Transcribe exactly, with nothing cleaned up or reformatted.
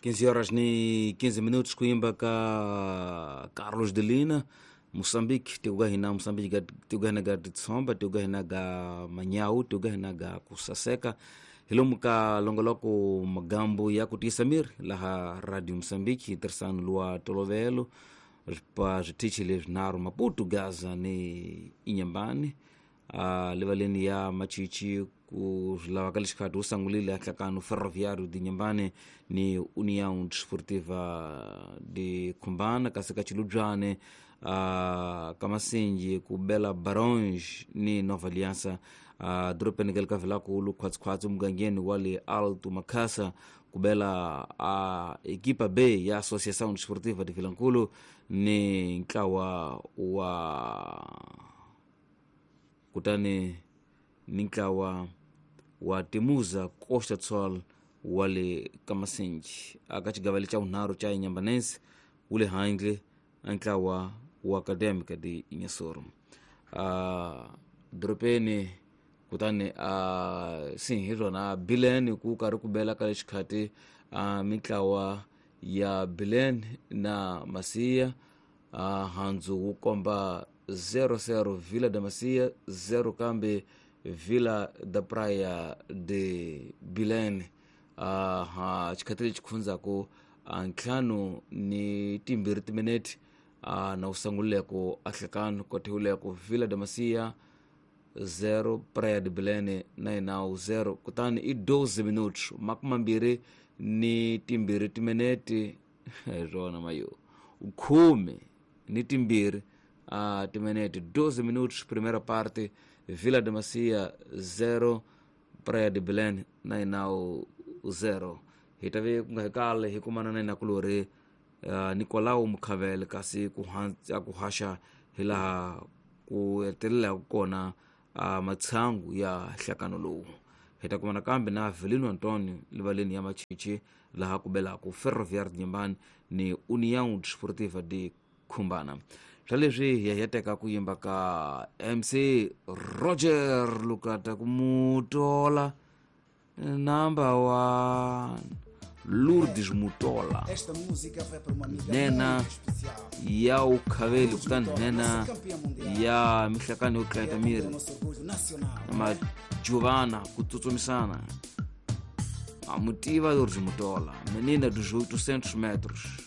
quinze horas ni quinze minutos, kuimba ka Carlos de Lina, Moçambique, tiugahina Moçambique, tiugahina ga Tsomba, tiugahina ga Manhau, tiugahina ga Kusaseka. Hilomu ka longoloko magambo ya kutisamir laha Radio Moçambique, tersano lua tolovelo, pa zvitichi lesvinaro Maputo, Gaza ni Inhambane, uh, livaleni ya Machichi ku zvilava ka lexikhathi wu sangulile a nhlakano Ferroviário de Inhambane ni União Desportiva de Khumbana, kasi ka Chilubyane uh, ka Masinji ku bela Barões ni Nova Aliança, uh, dorobeni ka le ka Vilankulu khwatsikhwatsi mugangeni wa le Alto Makhasa ku bela a uh, equipa B ya Associação Desportiva de Vilankulu ni ntlawa wa kutani ni ntlawa wa Temuza Costa Sol wa le Kamasinji. Aka xigava lexa vunharhu xa Inhambane wu le handle a ntlawa wa Académica de Inhassoro. Uh, dorobeni kutani a uh, si hi rona Bilene ku karhi ku bela ka lexikhathi uh, mintlawa ya Bilene na Masia, uh, handzu wu komba zero zero Vila da Masia zero kambe Vila da Praia de Bilene. Uh, ha xikhathi lexi khundzaku uh, ntlhanu ni timbirhi timinete uh, na wu sangulileko a nhlekano kothewuleko Vila da Masia zero Praia de Bilene nine zero, kutani i doze minutos makumambirhi ni timbirhi timinete rona mayo khume ni timbirhi uh, timinete doze minutos primeira parte Vila da Macia zero Praia de Belém nine zero. Hi ta ve ku nga hi kale hi kumana na inakulori uh, Nicolau Mukhavele kasi ku ha ku haxa hi laha ku hetelelaka kona uh, matshangu ya nhlakano lowu. Hi ta kumana kambe na Avelino Antonio livaleni ya Machichi laha ku belaka Ferroviário de Inhambane ni União Desportiva de Khumbana. Swa leswi hi ya hi teka ku yimba ka M C Roger Lukata ku Mutola number one Lourdes Mutola. Esta música vai para uma amiga nena muito especial. Ya ukhaveli kutani Mutola, nena nossa campeã mundial. ya mihlakano yo Que tlayeta é miri o nosso orgulho nacional. na majuvana ku tsutsumisana. A motiva Lourdes Mutola, menina dos oitocentos metros.